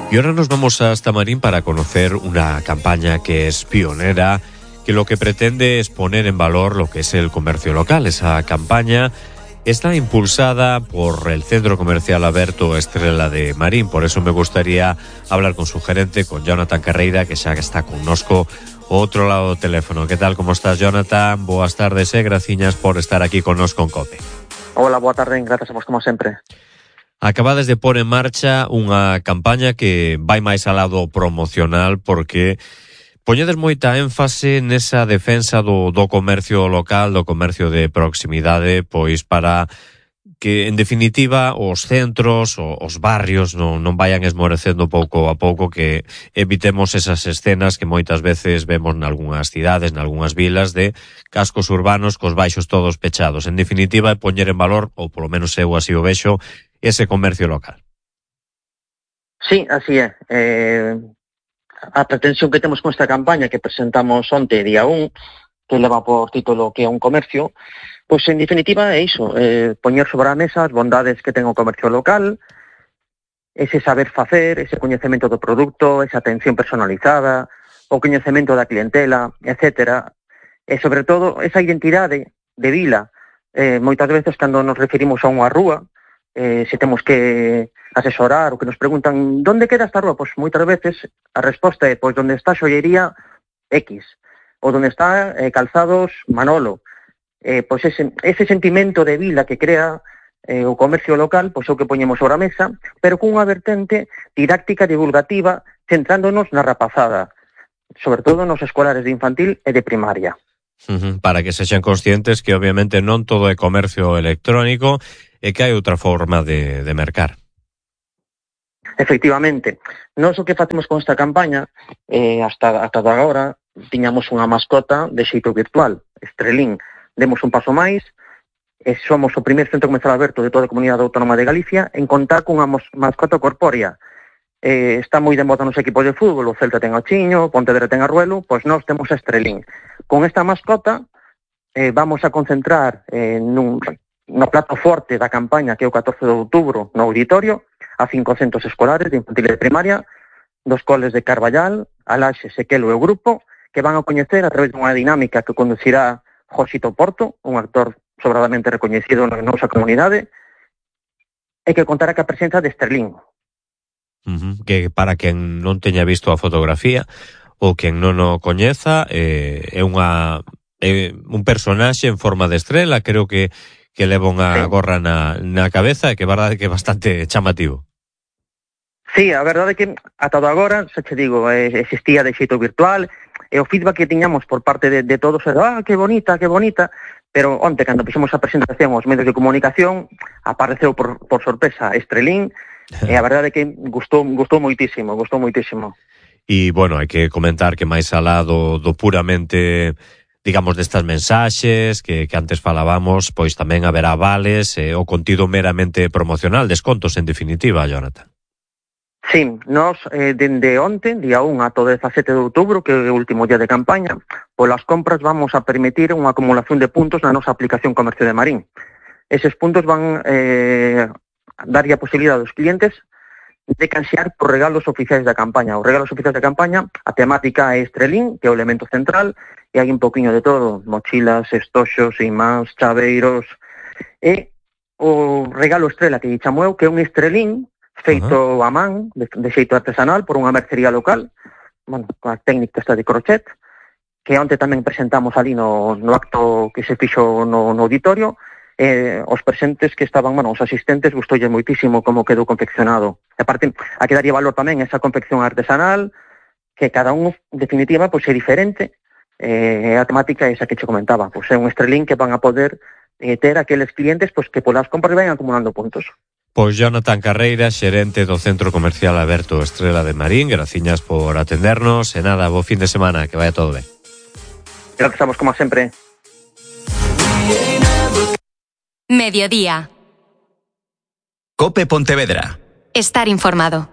Y ahora nos vamos hasta Marín para conocer una campaña que es pionera, que lo que pretende es poner en valor lo que es el comercio local. Esa campaña está impulsada por el Centro Comercial Aberto Estrela de Marín. Por eso me gustaría hablar con su gerente, con Jonathan Carreira, que xa está connosco outro lado do teléfono. Que tal, como estás, Jonathan? Boas tardes e graciñas por estar aquí connosco en COPE. Hola, boa tarde, grazas a vos como sempre. Acabades de pôr en marcha unha campaña que vai máis ao lado promocional, porque poñedes moita énfase nesa defensa do comercio local, do comercio de proximidade, pois para que, en definitiva, os centros, os barrios non vayan esmorecendo pouco a pouco, que evitemos esas escenas que moitas veces vemos nalgúnas cidades, nalgúnas vilas, de cascos urbanos cos baixos todos pechados. En definitiva, é poñer en valor, ou polo menos eu así o vexo, ese comercio local. Sí, así é. A pretensión que temos con esta campaña que presentamos onte, día 1, que leva por título que é un comercio, pois en definitiva é iso, poñer sobre a mesa as bondades que ten o comercio local, ese saber facer, ese coñecemento do produto, esa atención personalizada, o coñecemento da clientela, etcétera. E sobre todo esa identidade de vila. Moitas veces cando nos referimos a unha rúa, se temos que asesorar ou que nos preguntan ¿dónde queda esta rúa? Pois moitas veces a resposta é pois onde está a xollería X ou onde está calzados Manolo. Pois ese sentimento de vila que crea o comercio local, pois é o que poñemos sobre a mesa, pero cunha vertente didáctica divulgativa centrándonos na rapazada, sobre todo nos escolares de infantil e de primaria. Para que sexan conscientes que obviamente non todo é comercio electrónico e que hai outra forma de mercar. Efectivamente. Nós o que facemos con esta campaña, hasta agora, tiñamos unha mascota de xeito virtual, Estrelín. Demos un paso máis, e somos o primeiro centro comercial aberto de toda a comunidade autónoma de Galicia en contar cunha mascota corpórea. Está moi de moda nos equipos de fútbol, o Celta ten a Chiño, o Pontevedra ten a Ruelo, pois nós temos a Estrelín. Con esta mascota vamos a concentrar no plato forte da campaña, que é o 14 de outubro, no auditorio, a 500 escolares de infantil e de primaria, dos coles de Carballal, Alaxe, Sequelo e o grupo, que van a coñecer a través dunha dinámica que conducirá Josito Porto, un actor sobradamente recoñecido na nosa comunidade, e que contará ca presenza de Estrelín. Que para quen non teña visto a fotografía ou quen non o coñeza, é un personaxe en forma de estrela, creo que leva unha gorra na cabeza, e que é verdade que é bastante chamativo. Sí, a verdade é que ata agora, xa che digo, existía de xeito virtual, e o feedback que tiñamos por parte de todos era, que bonita, pero onte, cando fixemos a presentación aos medios de comunicación, apareceu por sorpresa Estrelín, e a verdade é que gustou moitísimo. E, bueno, hai que comentar que máis alá do puramente, digamos, destas mensaxes que antes falábamos, pois tamén haberá vales, o contido meramente promocional, descontos en definitiva, Jonathan. Sí, nós, dende onte, día 1 ata o 17 de outubro, que é o último día de campaña, polas compras vamos a permitir unha acumulación de puntos na nosa aplicación Comercio de Marín. Eses puntos van darlle a posibilidade aos clientes de canxear por regalos oficiais da campaña. Os regalos oficiais da campaña, a temática é Estrelín, que é o elemento central, e hai un poquinho de todo, mochilas, estoxos, imáns, chaveiros, e o regalo estrela que chamo eu, que é un Estrelín feito a man, de xeito artesanal, por unha mercería local, bueno, con a técnica esta de crochet, que onte tamén presentamos ali no acto que se fixo no auditorio. Os presentes que estaban, os asistentes, gustoulle moitísimo como quedou confeccionado. E aparte, a que daría valor tamén esa confección artesanal, que cada un, en definitiva, pois é diferente, a temática é esa que che comentaba, pois é un Estrelín que van a poder ter aqueles clientes pois que polas compras vayan acumulando puntos. Pois Jonathan Carreira, xerente do Centro Comercial Aberto Estrela de Marín, graciñas por atendernos, e nada, bo fin de semana, que vaya todo ben. Gracias a vos, como sempre. Mediodía. COPE Pontevedra. Estar informado.